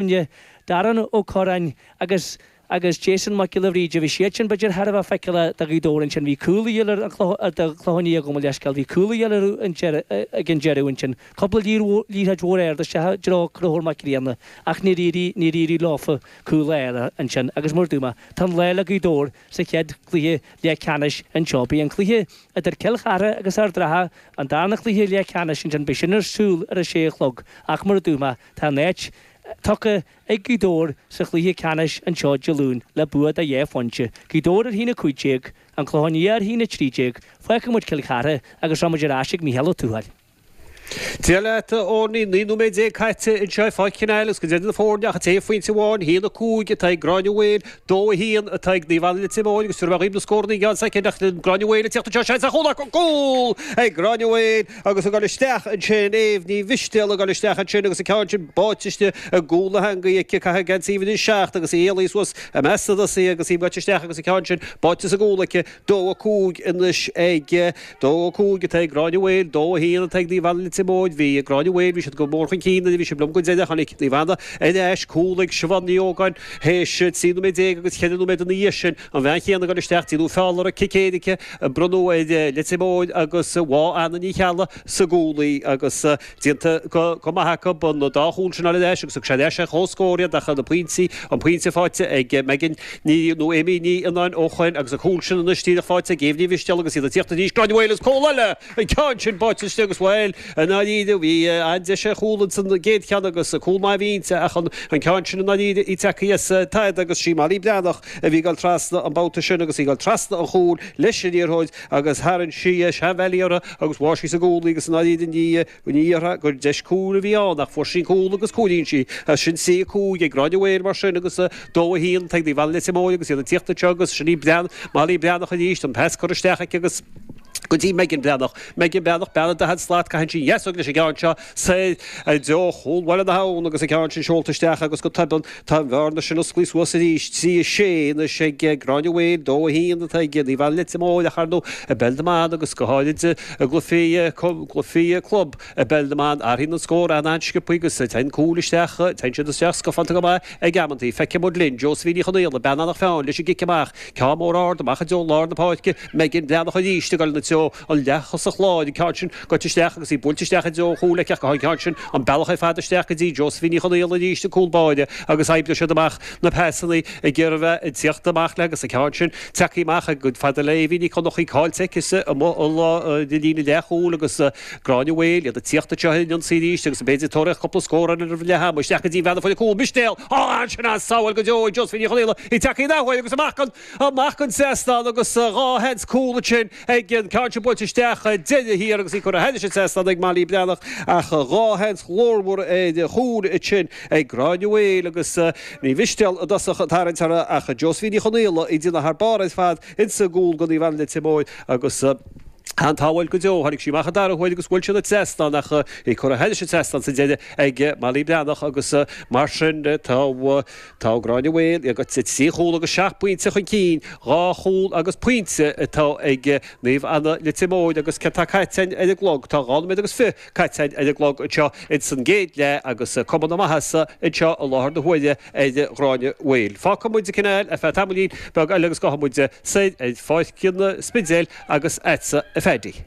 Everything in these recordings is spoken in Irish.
Cuimhne, Darren Ó Corráin agus agus Jason Mac Giolla Bhríde, bhí siad sin b'fhéidir thar a bheith feiceálach do Ghaoth Dobhair ansin, bhí cúl a dhíobháil ar an Chlochán, do Chlochán Liath gabh mo leithscéal, bhí cúl a dhíobháil orthu an deireadh, ag an deireadh ansin, cúpla liathróid mhór ard isteach i dtreo Conchúr Mac Grianna ach níor éirigh, níor éirigh leofa cúl a fháil ansin agus mar a dúirt mé, tá an lá le Gaoth Dobhair sa chéad chluiche leathcheannais anseo. Beidh an cluiche idir Cill Chartha agus Ard Ratha, an darna cluiche leathcheannais ansin, beidh sin ar siúl ar a sé a chlog ach mar a dúirt mé, tá an áit tugtha ag Gaoth Dobhair sa chluiche ceannais anseo Dé Luain le bua de dhá phointe. Gaoth Dobhair ar a haon 15, An Clochán Liath ar a haon 13. Fágfaidh muid Cill Chartha agus rachaidh muid ar ais ag Mícheál Ó Tuathail. Dia leat, a Eoiní. 19 nóiméad caite anseo i Pháirc Chineáil agus go deimhin na foirne ach trí phointe amháin, 1-5 atá ag Gráinne Mhaol, 2-1 atá ag Naomh Anna Leitir Móir agus tabharfaidh mé dhaoibh na scóranna i gceann soicind ach Gráinne Mhaol ag tíocht anseo, seans ar chúl acu, cúl ag Gráinne Mhaol! Agus ag dul isteach ansin, Éabh Ní Mhistéala ag dul isteach ansin agus an ceann sin báite istigh i gcúl na heangaí aici, caitheadh geansaí uimhir a 7 agus í éalaithe suas i measc na dtosaithe agus í gaibhte isteach agus an ceann sin báite sa gcúl aici. 2-5 anois ag 2-5 atá ag Gráinne Mhaol, 2-1 atá ag Naomh Anna Leitir Móir. Bhí Gráinne Mhaol, bhí siad go mór chun cinn nuair a bhí sibh liom go deireadh. Tháinig Naomh Anna ar ais, cúl ag Siobhán Ní Ógáin théis 13 nóiméad agus 4 nóiméad ina dhiaidh sin. An bhean chéanna ag dul isteach, déanadh feall uirthi, cic éirice a bronnadh ar Leitir Móir agus bháigh Anna Ní Cheallaigh sa gcúl í agus déanta go maith acu an dá chúl sin a fháil ar ais agus thug sé ar ais ar comhscór iad ach na pointí, an pointe faighte ag Megan Ní nó Amy Ní Fhionnáin ó Choinn agus an cúl sin anois díreach faighte ag Éabh Ní Mhistéala agus iad ag tíocht arís, Gráinne Mhaol agus cúl eile! An ceann sin báite istigh agus bhuel, i ndáiríre, bhí an-deis ar chúl ins an gcéad cheann agus cúl maith a bhí inti ach an ceann sin i ndáiríre í tagtha as tada agus sí Molly Breathnach a bhí ag dul trasna an babhta sin agus í ag dul trasna an chúil leis an liathróid agus tharraing sí seanbhealaí uirthi agus bháigh sí sa gcúl í agus i ndáiríre ní ní dhéarfá gur deis cúil a bhí ann ach fuair sí an cúl agus cúilín sí as sin 3 5 ag Gráinne Mhaol mar sin agus 2 1 ag Naomh Anna Leitir Móir agus iad ag tíocht anseo agus sin í Brean Molly Breathnach arís an pas curtha isteach aici agus go dtí Megan Breathnach. Megan Breathnach, bean an daichead slat, caitheann sí an dheasóg leis an gceann seo soir i dtreo chúl Bhaile na hAbhann agus an ceann sin seolta isteach agus go tobann tá an bhearna sin osclaithe suas arís, 3 6 anois ag Gráinne Mhaol, 2 1 atá ag Naomh Anna Leitir Móir ach ar ndóigh i bpeil na mban agus go háirid i gcluichí gcluichí club i bpeil na mban athraíonn an scór an-an-sciobtha agus téann cúil isteach, téann siad isteach scafánta go maith ag amantaí. Feicfidh muid linn Josephine Ní Chonaola, bean Eanach Mheáin leis an gcic amach. Ceann mór ard amach i dtreo lár na páirce, Megan Breathnach arís ag dul ina treo, an leath-thosach láir, an ceann sin gaibhte isteach agus í buailte isteach i dtreo an chúil aici ach an ceann sin an bealach ar fad isteach go dtí Josephine Ní Chonaola arís an cúl báire agus oibreoidh siad amach na pasanna ag iarraidh a bheith ag tíocht amach le agus an ceann sin tagtha amach chomh fada le Éibhín Ní Chonnachaí caillte aici amuigh i líne leathchúil agus Gráinne Mhaol, iad ag tíocht anseo ar an ionsaí arís agus b'fhéidir tabharfaidh cúpla scór eile roimh leath ama. Isteach go dtí an bhean a fuair an cúl, Mistéal! Á, ansin an sábháil go deo ag Josephine Ní Chonaola, í tagtha in athuair agus amach an, amach an trasnán agus dhá sheans cúl ansin ag an ceann sin buailte isteach deireadh thiar agus í curtha thairis an trasnán ag Molly Breathnach ach dhá sheans ghlórmhar ar chúl ansin ag Gráinne Mhaol agus Ní Mhistéal i dtosach ag tarraingt uirthi ach Josephine Ní Chonaola ag déanamh thar barr ar fad insa gcúl do Naomh Anna Leitir Móir agus An-tsábháil go deo. Tháinig sí amach an dara huair agus bhuail sí an trasnán ach í curtha thairis an trasnán sa deireadh ag Molly Breathnach agus mar sin tá tá Gráinne Mhaol ag trí chúl agus seacht bpointe chun cinn, dhá chúl agus pointe atá ag Naomh Anna Leitir Móir agus céard tá caite ar an gclog? Tá dhá nóiméad agus fiche caite ar an gclog anseo ins an gcéad leath agus cuma na maitheasa anseo i láthair na huaire ar Ghráinne Mhaol. Fágfaidh muid an cineál ar feadh tamaillín beag eile agus gabhfaidh muid soir ar Pháirc an Spidéil agus agatsa a Phaddy.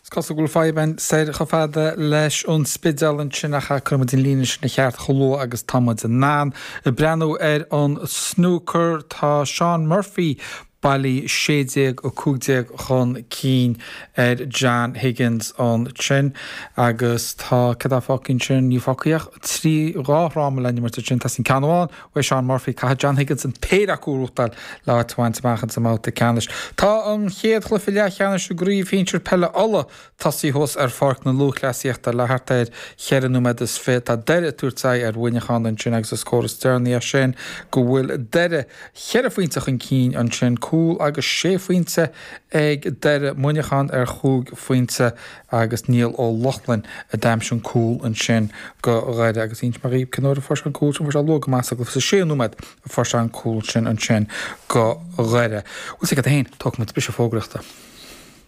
Is cosúil go bhfuil fadhb againn soir chomh fada leis an Spidéal ansin ach cuirfidh muid an líne sin ina cheart chomh luath agus tá muid in ann. Ag breathnú ar an snúcar, tá Shaun Murphy bailí 16, 15 chun cinn ar John Higgins ansin agus tá, céard atá fágtha ansin, níl fágtha ach trí, dhá fhráma le n-imirt ansin, tá sin ceann amháin uaidh Shaun Murphy, caithfidh John Higgins an péire acu a bhuachtáil le áit a bhaint amach ins an mbabhta ceannais. Tá an chéad chluiche leathcheannais i gCraobh Shinsir Peile Uladh tosaithe thuas ar Pháirc na Lúthchleasaíochta le thart ar cheithre nóiméad is fiche. Tá Doire ag tabhairt aghaidh ar Mhuineachán ansin agus is comhartha is deireanaí é sin go bhfuil Doire cheithre phointe chun cinn ansin, cúl agus sé phointe ag Doire, Muineachán ar chúig phointe agus Niall Ó Lochlainn a d'aimsigh an cúl ansin go Dhoire agus inseoidh mé dhaoibh cén uair a fuair sé an cúl sin, fuair sé luath go maith sa gcluiche, sa séú nóiméad a fuair sé an cúl sin ansin go Dhoire. Bhuel, sea, féin, tógfaidh muid briseadh fógraíochta.